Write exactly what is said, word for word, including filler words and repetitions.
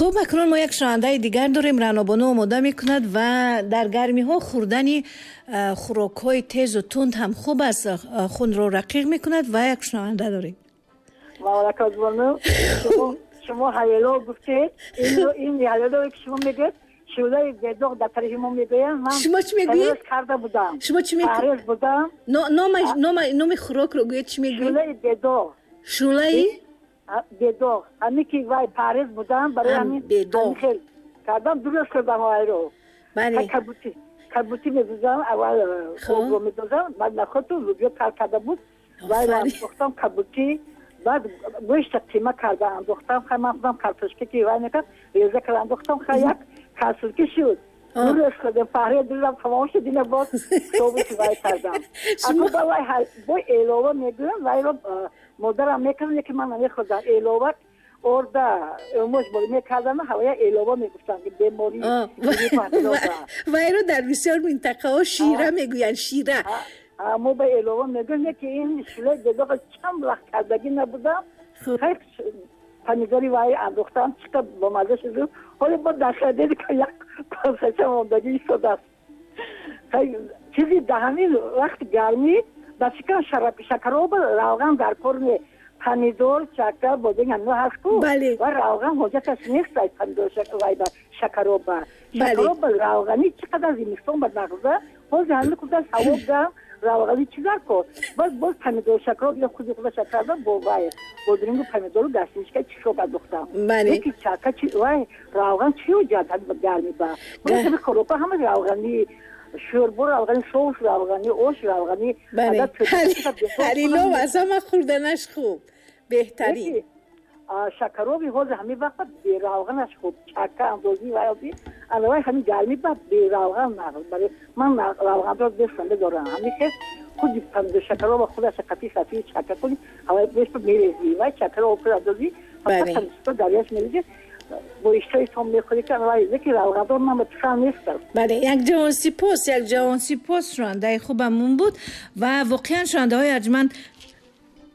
Хуб, акнун мо як шунавандаи дигар дорем. Ранобону омода мекунад ва дар гармиҳо хӯрдани хӯрокҳои тезу тунд ҳам хуб аст, хунро рақиқ мекунад. Ва як шунаванда дорем. Мавлакозбону, шумо ҳавело гуфтед, ин ҳавелое ки шумо мегӯед, шӯлаи бедоғ дар тарафи мо мегӯянд. Ман шумо чӣ мегӯед? Карда будам. Шумо чӣ мегӯед? Будам. Номи хӯрокро гӯед, чӣ мегӯед? Шӯлаи бедоғ. Шӯлаи бедоғ. Ҳамин ки вай парез будам, барои ҳамин хел кардам, дуруст кардам вайро. Бале. Кабутӣ медозам, аввал обро медозам, баъд нахоту лубиё тар карда буд, вайро андохтам кабутӣ, баъд гӯшта қима карда андохтам. Хай, ман худам картошка ки вай мекард, реза карда андохтам, хай, як касулки шуд. Дуруст кардам, паҳре дилам тамом шуд, ина боз собути вай кардам. Аку вай бо элова мегӯям, вайро модарам мекардам, ки ман намехӯрдам. Элова орда өмош бо мекардам, ҳавая элова мегуфтам, беморӣ. Вайро дар бисёр минтақаҳо шира мегӯянд, шира. Мо ба элова мегӯем, ки ин шӯлаи бедоға чанд вақт кардагӣ набудам. Хай, помидори вай андохтам, чӣ бомаза шуд. Ҳоло бо дар хадеди як косача мондагӣ истодааст. Чизи дар ҳамин вақти гармӣ, ба фикрам, шакароба равған дар кор не. Помидор, чака, бодинг, ҳамино ҳаст ку, ва равған ҳоҷаташ нест. Ай помидор вай ба шакароба, шакароба равғанӣ чӣ қадар зимистон ба нағза. Ҳозир ҳамин худа ҳаво гарм, равғанӣ чӣ дар кор? Боз боз помидор, шакароб ё худи худа шакарда бо вай бодирингу помидору гастинчка чишоб андохтам. Леки чака чи вай равған чӣ ҳоҷат гармӣ ба? Хоропа ҳама равғанӣ, шӯрбо равғанӣ, соус равғанӣ, ош равғанӣ. Ҳарилов аз ҳама хӯрданаш хуб, беҳтарин. Шакароби ҳозир ҳамин вақт беравғанаш хуб, чака андозӣ вайоби алавай ҳамин гармӣ ба беравған нағз. Барои ман равғанро дӯст надорам. Ҳамин хел худи помидор шакароба худаша қати сафи чака кунӣ, ҳавай бешпа мерезӣ, вай чакаро об андозӣ, даряш мерезӣ, бо иштиҳои мехӯрӣ ки вай. Леки равғандор ман писанд нестам. Бале, як ҷавон сипос, як ҷавон сипос, шунавандаи хубамон буд. Ва воқеан, шунавандаҳои арҷманд,